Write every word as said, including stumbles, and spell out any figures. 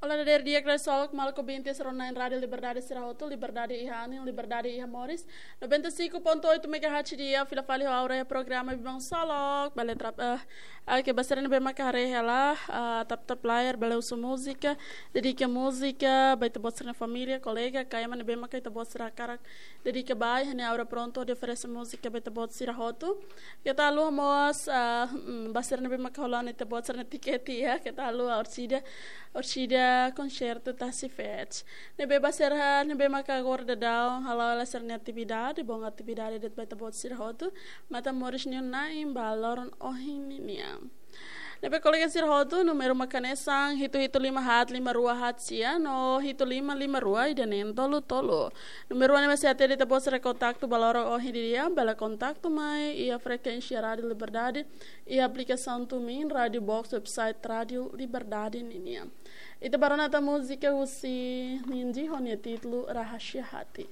Olá, dadeer di'ak, krai solok, maluk ouvinte sira-ne'e Rádio Liberdade sira hotu, liberdade iha anin, liberdade iha moris. Noventa e cinco ponto oito megahertz di'ak, fila fali ho aura iha programa Biban Solok, bele trap, eh, ah, ke ba sira ne'ebé maka haree hela, ah, tap tap layar, bele husu múzika, dedika múzika ba ita-boot sira-nia família, kolega, ka ema ne'ebé maka ita-boot sira hakarak dedika ba, iha ne'e aura prontu hodi oferese múzika ba ita-boot sira hotu. Keta haluha mós, ah, mm, ba sira ne'ebé maka hola ona ita-boot sira-nia tikete, ya, keta haluha Orchídea, Orchídea konsertu Tasi Fest. Ne'ebé ba sira ne'ebé maka agora daudaun hala'o hela sira-nia atividade, bom atividade de'it ba ita-boot sira hotu, matan moris nia na'in ba loron ohin nian. Ne'ebé kolega sira hotu, númeru mak hanesan hitu hitu lima haat lima rua haat sia no hitu lima lima rua ida neen tolu tolu. Númeru ne'ebé sei hatene ita-boot sira kontaktu ba loron ohin nian, bele kontaktu mai iha frekuénsia Rádio Liberdade, iha aplikasaun TuneIn, Rádio Box, website Rádio Liberdade ninian. Ita bá rona tan múzika husi Nindy ho nia títulu Rahasia Hati.